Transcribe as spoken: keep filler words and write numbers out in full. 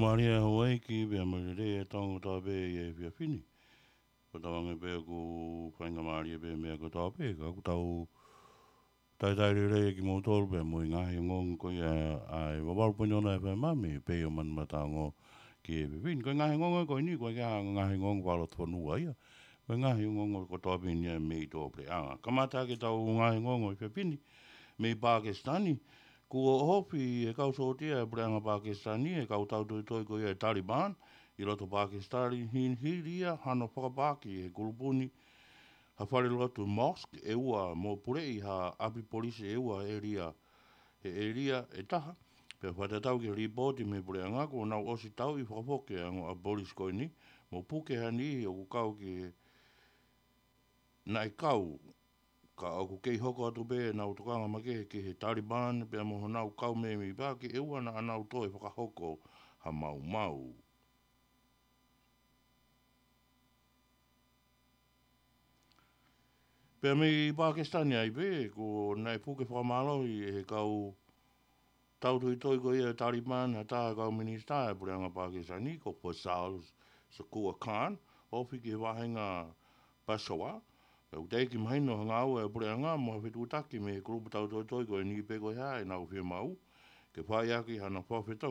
Mālie Hauaiki, pea mālie lelei e tongo kotoa pē ʻi he efiafi ni. Ko tau ange pē ʻoku faingamālie pē meʻa kotoa pē, ka ʻoku tau talitali lelei kimoutolu pea mo e ngaahi ongoongo ko ia ʻa e valu poini ono FM mei Peio Manumataongo ki he efiafi ni. Ko e ngaahi ongoongo ko eni, ko e ngaahi ongoongo fakalotofonua ia. Ko e ngaahi ongoongo kotoa pē eni ia mei tuʻapuleʻanga. Kamata ʻaki ʻetau ngaahi ongoongo he efiafi ni, mei Pākisitani, kuo ʻohofi ʻe he kau sōtia ʻa e puleʻanga Pākisitani e kau tautoitoi ko ia ʻa e Taliban ʻi loto Pākisitani, hili ia hano fakapaaki ʻe he kulupu ni ha falelotu mosque ʻe ua mo puleʻi ha ʻapi polisi ʻe ua he ʻēlia, he ʻēlia ʻe taha. Pea fakatatau ki he lipooti mei he puleʻanga, kuo nau ʻosi tauʻi fakafoki ʻa e ongo ʻapi polisi ko eni, mo puke ha niʻihi ʻoku kau ki he naʻe kau, ka ʻoku kei hoko atu pē ʻenau tokanga makehe ki he Taliban pea mo honau kau mēmipa, ke ʻoua naʻa nau toe fakahoko ha maumau. Pea mei Pākisitani ai pē, kuo nau puke fakamālohi ʻe he kau tautoitoi ko ia ʻa e Taliban ha taha ʻo e kau minisitā ʻa e puleʻanga Pākisitani, ko Faisal Shakor Khan, ofi ki he vahenga Peshawar. Pea ʻoku teʻeki mahino ha ngāue ʻa e puleʻanga mo ha fetuʻutaki mei he kulupu tautoitoi ko eni pe ko e hā ʻenau fiemaʻu ke fai ʻaki hano fakafetongi